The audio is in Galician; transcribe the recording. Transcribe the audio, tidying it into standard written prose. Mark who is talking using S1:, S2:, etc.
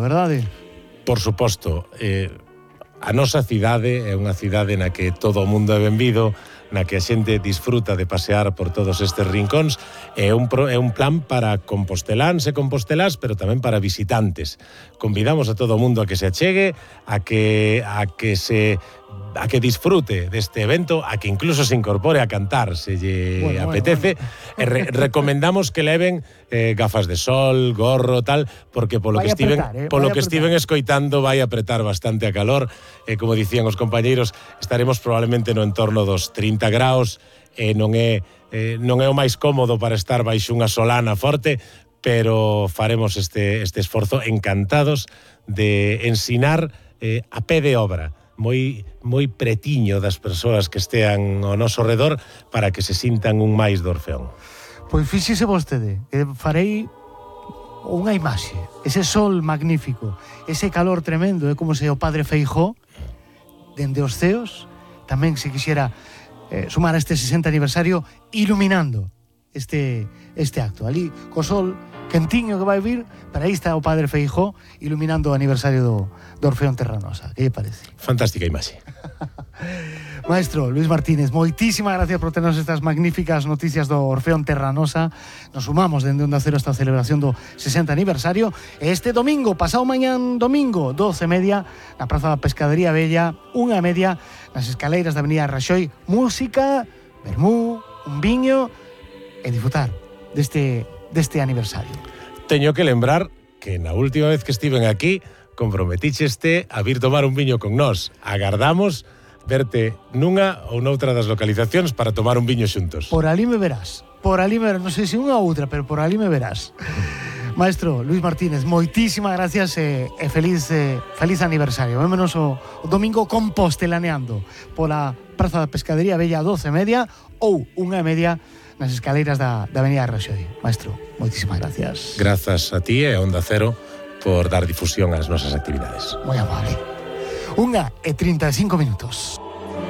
S1: verdade?
S2: Por suposto, a nosa cidade é unha cidade na que todo o mundo é benvido, na que a xente disfruta de pasear por todos estes rincóns. É un plan para composteláns e compostelás, pero tamén para visitantes. Convidamos a todo o mundo a que se achegue, a que disfrute deste evento, a que incluso se incorpore a cantar se lle apetece. E recomendamos que leven gafas de sol, gorro, tal, porque polo que estiven escoitando vai apretar bastante a calor. Como dicían os compañeiros, estaremos probablemente no entorno dos 30 graus, non é o máis cómodo para estar baixo unha solana forte, pero faremos este esforzo encantados de ensinar a pé de obra, moi pretiño das persoas que estean ao noso redor, para que se sintan un máis do Orfeón.
S1: Pois fíxese vostede, farei unha imaxe, ese sol magnífico, ese calor tremendo, é como se o padre Feijóo, dende os ceos, tamén se quixera sumar a este 60 aniversario iluminando este acto. Ali, co sol quentiño que vai vir, para aí está o padre Feijóo iluminando o aniversario do Orfeón Terranosa. Que lle parece?
S2: Fantástica imaxe.
S1: Maestro Luís Martínez, moitísimas gracias por ternos estas magníficas noticias do Orfeón Terranosa. Nos sumamos dende Onda Cero esta celebración do 60 aniversario. Este domingo, pasado mañán domingo, 12:30, na Praza da Pescadería Bella, 1:30, nas escaleiras da Avenida Raxoi. Música, vermú, un viño e disfrutar deste aniversario.
S2: Teño que lembrar que na última vez que estiven aquí comprometícheste a vir tomar un viño con nós. Agardamos verte nunha ou noutra das localizacións para tomar un viño xuntos.
S1: Por ali me verás, non sei se unha ou outra, pero por ali me verás. Maestro Luís Martínez, moitísimas gracias e feliz aniversario. Vémonos o domingo compostelaneando pola Praza da Pescadería Bella 12:30 ou 1:30 nas escaleiras da Avenida Raxoi. Maestro, moitísimas gracias.
S2: Grazas a ti e a Onda Cero por dar difusión ás nosas actividades.
S1: Moi amable. 1:35.